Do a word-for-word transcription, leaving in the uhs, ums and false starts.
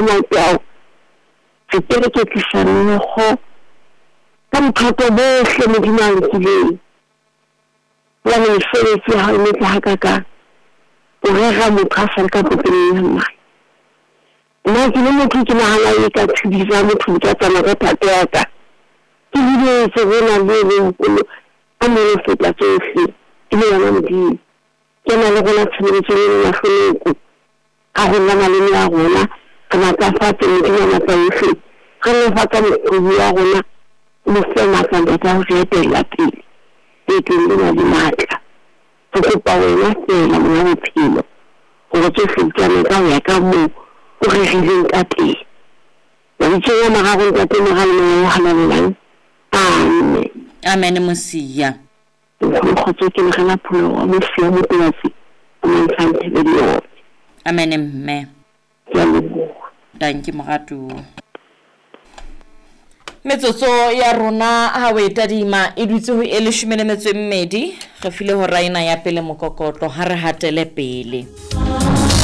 Matao re kereketlisa meokgo ka bothata bohle Modimo a nkileng. Hobane mesebetsi ya hao e metle hakakang. O rera motho a sa le ka popelong ya mmae. Nna ke le motho ke nahana e ka tshedisa motho di ka tsamaya ka thato ya ka. Ke lebetse ho na le e moholo a mo feta tsohle e le yona Modimo. Ke na le rona tshebeletsong ena mahlonoko. A rona maleme a rona re matlafatse Modimo wa matla ohle. Re nolofatsa mokgobi wa rona o mo fe matla Ntate a ho re etella pele leetong lena le matla. Re kopa wena feela monga bophelo hore tsohle di tsamaye ka ho ya ka moo o rerileng ka teng. Mabitsong a mararo Ntate, Mora le Moya o Halalelang. Amen. Amen Mosia. Nkgono kgotso ke Lerela Pholo wa Mosia Motobatsi o Mantshang Thebedi yone. Amen mme. Ke a leboha. Dankie moratuwa. Metsotso ya rona ha o e tadima e dutse ho e leshome le metso e mmedi. Re file hora ena ya pele mokokotlo ha re hatele pele.